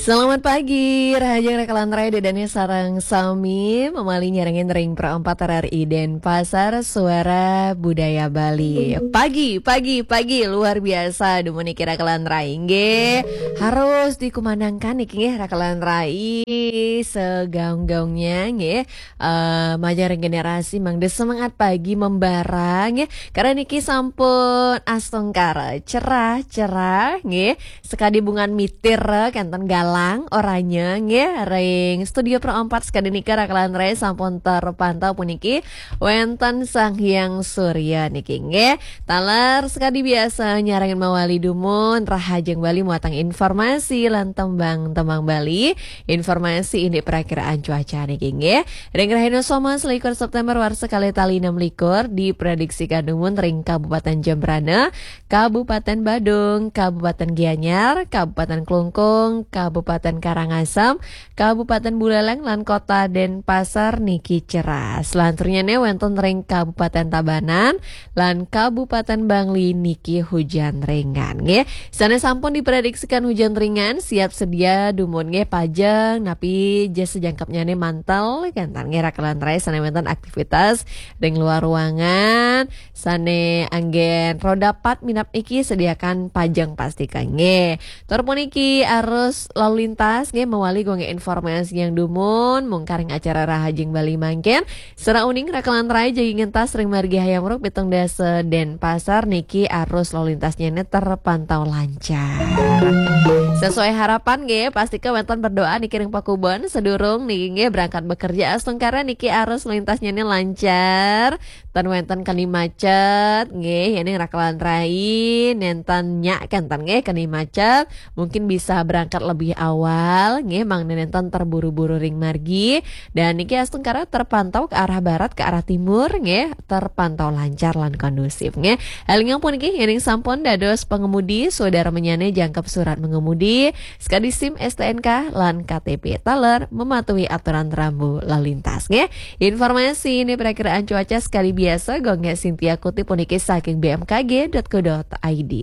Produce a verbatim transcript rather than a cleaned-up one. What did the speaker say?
Selamat pagi, rahajeng rakalan rai Dédé sareng sami, mawali nyarengin ring Pro empat R R I Denpasar, Suara Budaya Bali. Pagi, pagi, pagi, luar biasa, dumun niki rakalan rai, nggih. Harus dikumandangkan niki, nggih, rakalan rai, segaung-gaungnya, nggih. Eh, majeng ring generasi mangda semangat pagi membara, nggih. Karena niki sampun astungkara cerah-cerah, nggih. Sekadi bungan mitir, kenten galang oranye, nggih. Ring Studio Pro empat sekadi nika rakalan rai sampun terpantau puniki wenten Sang Hyang Surya niki, nggih. Taler sekadi biasa nyarengin mawali dumun, rahajeng Bali muatang informasi lan tembang-tembang Bali. Informasi indik prakiraan cuaca niki, nggih. Ring rahina Soma selikur September warsa kalih tali enam likur diprediksikan dumun ring Kabupaten Jembrana, Kabupaten Badung, Kabupaten Gianyar, Kabupaten Klungkung, Kabupaten Karangasem, Kabupaten Buleleng lan Kota Denpasar niki cerah. Selanturnya wenten ring Kabupaten Tabanan lan Kabupaten Bangli niki hujan ringan, nggih. Sané sampun diprediksikan hujan ringan, siap sedia dumun, nggih, pajeng napi jas sajangkepnyané mantel, kenten, nggih, rakalan rai sané wenten aktivitas ring luar ruangan, sané anggén roda pat minab niki sediakan pajeng pastika, nggih. Tur puniki arus lalu lintas, nggih, mawali gonggé informasi yang dumun, mungkaring acara Rahajeng Bali mangkin. Sareng uning rakalan rai jagi ngentas ring margi Hayam Wuruk pitung dasa Denpasar niki arus lalu lintasnyané terpantau lancar. Sesuai harapan, nggih, pastika wenten berdoa niki ring pakubon sadurung niki, nggih, berangkat bekerja astungkara niki arus lalu lintasnyané lancar. Tan wenten keni macet, nggih, yéning rakalan rai nénten nyak kenten, nggih, keni macet, mungkin bisa berangkat lebih awal, nggih, mangda nénten terburu-buru ring margi. Dan niki astungkara terpantau ke arah barat, ke arah timur, nggih, terpantau lancar lan kondusif, nggih. Élingang puniki, yéning sampun dados pengemudi, sadarmanyané jangkep surat mengemudi, sekadi SIM, STNK, lan KTP taler mematuhi aturan rambu lalu lintas, nggih. Informasi indik prakiraan cuaca sekadi biasa, gonggé Sintia kutip puniki saking B M K G dot co dot I D.